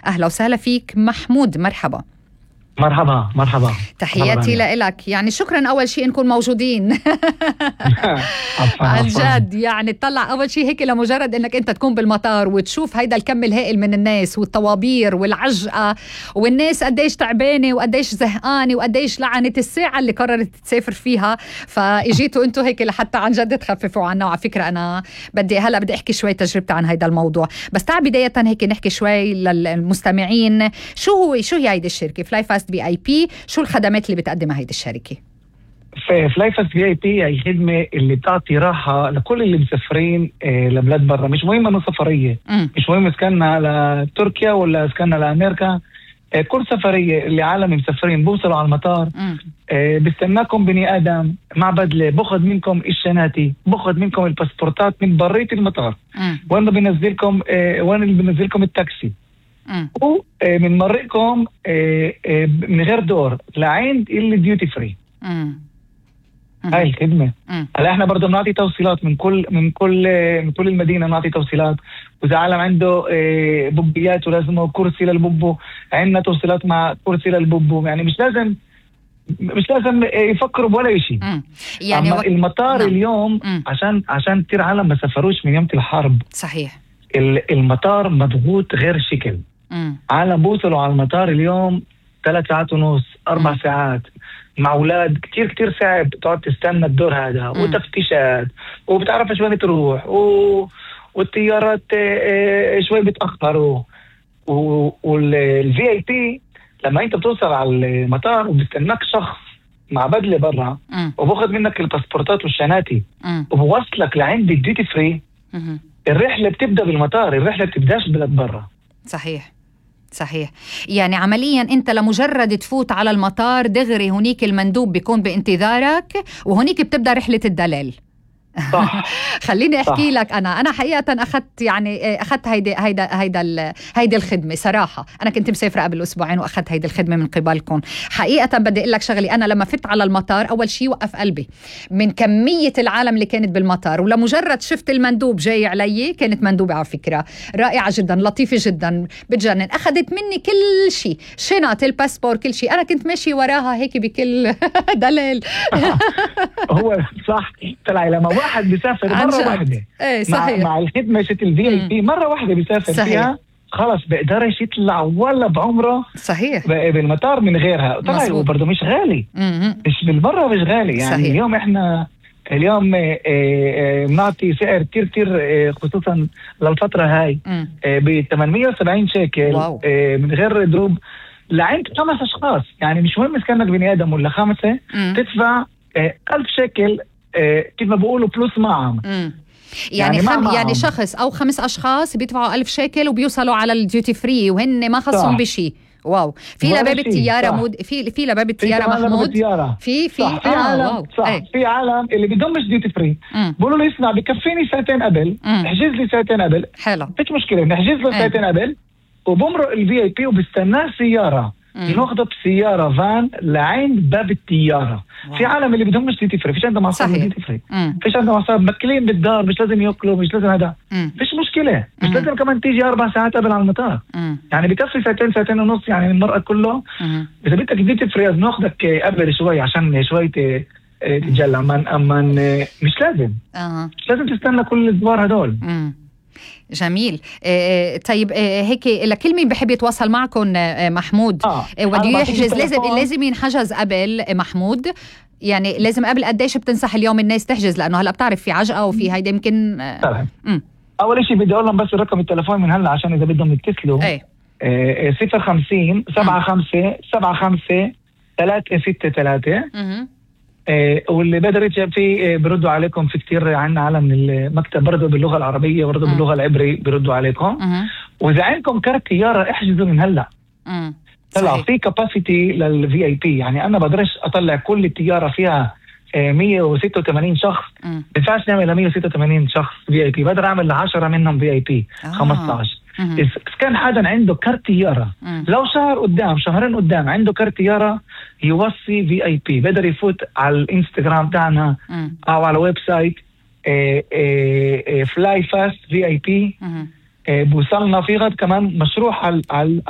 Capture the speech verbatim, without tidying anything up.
أهلا وسهلا فيك محمود. مرحبا. مرحبا مرحبا. تحياتي لإلك. يعني شكرا أول شيء نكون موجودين. عن جد يعني تطلع أول شيء هيك لمجرد أنك أنت تكون بالمطار وتشوف هيدا الكم الهائل من الناس والطوابير والعجقة والناس قديش تعبانة وقديش زهقانة وقديش لعنت الساعة اللي قررت تسافر فيها، فإجيتوا أنتوا هيك لحتى عن جد تخففوا عنا. وعلى فكرة أنا بدي هلأ بدي أحكي شوي تجربتي عن هيدا الموضوع، بس تعال بداية هيك نحكي شوي للمستمعين شو هو شو هي هيدي الشركة فلاي فاست في اي بي، شو الخدمات اللي بتقدمها هيدي الشركة؟ فلاي فاست في اي بي هي خدمة اللي بتعطي راحة لكل اللي مسافرين لبلاد برا، مش مهم انه سفرية، م. مش مهم اسكننا لتركيا ولا اسكننا لأمريكا، كل سفرية اللي عالم مسافرين بوصلوا على المطار بيستناكم بني آدم مع بدلة، بأخذ منكم الشناتي، بأخذ منكم الباسبورتات من برية المطار، وين بنزلكم وين اللي بنزلكم التاكسي، ومن مرقكم من غير دور لعند اللي ديوتي فري. هاي الخدمة. هلا احنا برضه بنعطي توصيلات من كل من كل من كل المدينة، بنعطي توصيلات، وإذا عالم عنده بوبيات ولازمه كرسي للبوبو عندنا توصيلات مع كرسي للبوبو، يعني مش لازم مش لازم يفكروا بولا شيء. يعني أما وك... المطار نعم. اليوم م. عشان عشان كتير عالم ما سافروش من يوم الحرب. صحيح. المطار مضغوط غير شكل. مم. عالم بوصلوا على المطار اليوم ثلاث ساعات ونص أربع مم. ساعات مع أولاد، كتير كتير صعب تقعد تستنى الدور هذا، مم. وتفتيشات وبتعرف شوي تروح و... والطيارات شوي بتأخروا، والفي اي بي لما انت بتوصل على المطار وبستناك شخص مع بدلة برا وباخذ منك الباسبورتات والشناتي وبوصلك لعند الديوتي فري، مم. الرحلة بتبدأ بالمطار، الرحلة بتبداش بلاد برا. صحيح صحيح. يعني عمليا انت لمجرد تفوت على المطار دغري هنيك المندوب بيكون بانتظارك وهنيك بتبدأ رحلة الدلال. صح. خليني احكي صح. لك انا انا حقيقه اخذت يعني اخذت هيدي هيدا هيدا هيدي الخدمه صراحه. انا كنت مسافره قبل اسبوعين واخذت هيدي الخدمه من قبلكم. حقيقه بدي اقول لك شغلي، انا لما فت على المطار اول شيء وقف قلبي من كميه العالم اللي كانت بالمطار، ولمجرد شفت المندوب جاي علي، كانت مندوبه على فكره رائعه جدا لطيفه جدا بتجنن، اخذت مني كل شيء، شنط الباسبور كل شيء، انا كنت ماشي وراها هيك بكل دلال. هو صح. طلع لما واحد بيسافر مرة واحدة ايه مع, مع الخدمة شت الفي اي بي مرة واحدة بيسافر صحيح. فيها خلص بقدرش يطلع ولا بعمره صحيح بالمطار من غيرها. طلع برضه مش غالي، مم. مش بالمرة مش غالي يعني صحيح. اليوم احنا اليوم بنعطي سعر كتير كتير خصوصا للفترة هاي ب ثمانمية وسبعين شيكل واو. من غير دروب لعند خمس اشخاص، يعني مش مهم كانك بني ادم ولا خمسة، مم. تدفع ألف شيكل كيف ما بقولوا بلس معهم. يعني يعني, خم يعني شخص أو خمس أشخاص بيدفعوا ألف شيكل وبيوصلوا على الديوتي فري وهن ما خصهم بشي. واو. في لباب الطيارة مود في في لباب الطيارة محمود في في صح. في آه عالم واو. صح ايه. في عالم اللي بدهمش ديوتي فري بقولوا لي اسمع بكفيني ساعتين قبل، احجز لي ساعتين قبل، حلو مفيش مشكلة نحجز له ساعتين قبل وبمرق الفي اي بي وبستناه سيارة يناخده بسيارة فان لعند باب الطيارة. في عالم اللي بدهم مش ديوتي فري، فيش عندهم عصاب ديوتي فري، فيش عندهم عصاب مكلين بالدار، مش لازم يأكلوا، مش لازم هذا، فيش مشكلة، مش لازم كمان تيجي أربع ساعات قبل على المطار، مم. يعني بكفي ساعتين ساعتين ونص يعني المرأة كله. مم. إذا بدك ديوتي فري ناخدك قبل شوي عشان شوي تتجلى، أما أما مش لازم أه. مش لازم تستنى كل الدوار هدول. مم. جميل. آه طيب آه هيك لكل مين بحب يتواصل معكم آه محمود آه. آه وده يحجز لازم لازم ينحجز قبل آه محمود، يعني لازم قبل قديش بتنصح اليوم الناس تحجز، لأنه هلأ بتعرف في عجقة وفي هيدا يمكن آه أول شيء بدي أقول لهم بس رقم التلفون من هلا عشان إذا بدهم يتصلوا ايه آه صفر خمسين سبعة خمسة سبعة خمسة ثلاثة ستة ثلاثة. آه واللي بقدر يتجاب فيه آه بردوا عليكم. في كتير عنا عالم من المكتب برضه باللغة العربية برضه باللغة العبرية بردوا عليكم. وإذا عندكم كارت طيارة احجزوا من هلا. طلع في كاباسيتي للفي اي بي، يعني أنا بقدرش أطلع كل الطيارة فيها آه مية وستة وثمانين شخص، بفاش نعمل مية وستة وثمانين شخص في اي بي، بقدر أعمل لعشرة منهم في اي بي خمسة عشر. إذا كان حدا عنده كارت طيارة لو شهر قدام شهرين قدام عنده كارت طيارة يوصي في اي بي، بقدر يفوت على الانستغرام تاعنا او على الويب سايت فلاي فاست في اي بي، بوصلنا في غد كمان مشروع على